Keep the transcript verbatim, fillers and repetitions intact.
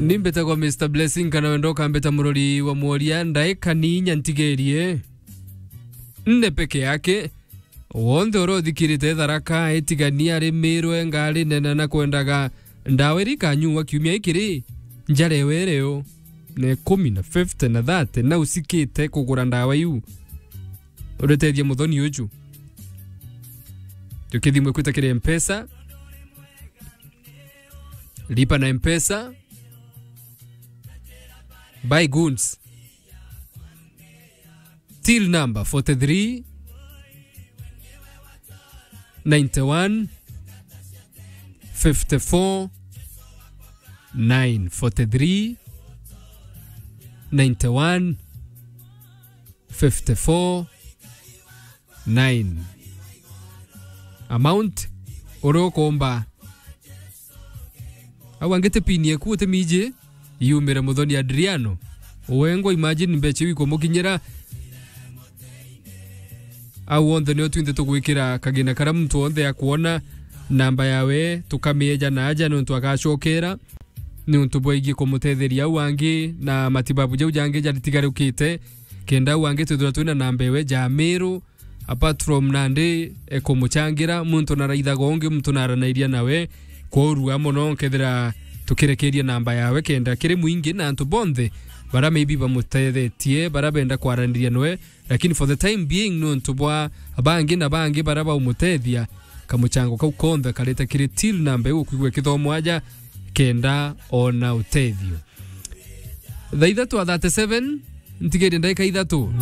Ni mbetagwa Mister Blessing, kana wenda ukambeta murori wa mworia, ndaika ni inya ntigerie. Nne peke yake. Wonthe uria uthikirite Tharaka, itigania ari Miru, enga ari nene na kwendaga ndawa iria ikanyuwa kiumia giki ri, njarewe iri yo. Na ikumi na fifty na thirty, na usikite kugura ndawa iu. Uritethia muthoni uju. Tukithimwe kwita kiri Mpesa. Lipa na Mpesa. Buy goods. Till number forty-three, ninety-one, fifty-four, nine. Forty-three, ninety-one, fifty-four, nine. Amount uria ukomba. Au angi ti pin yeku utimiji, yumire muthoni Adriano. Wengwa, imagine mbecha iu ikumukinyira. Au onthe nio twinthe tugwikira kagina karia muntu onthe akwona namba yawe, tukamieja na aja niuntu agacokera, niuntu bwegie kumutetheria au angi na matibabu jau jangi jaritigarukite, kenda au angi twithirwa twina namba ewe ja Miru, apart from nandi, e, kumuchangira, muntu naraithaga ungi, muntu naranairia nawe, kworua mono nkethira tukirekeria namba yawe kenda kiri mwingi na antu bonthe bara maybe bamutethetie, bara benda kwaraniria nawe, lakini for the time being, nontu bwa bangi na bangi bara baumutethia, kamuchango kau konthe karite kiri till namba iu ukwigua ikithomwa aja kenda ona utethio. Thaa ithatu a thirty-seven, ntigerie ndaika ithatu.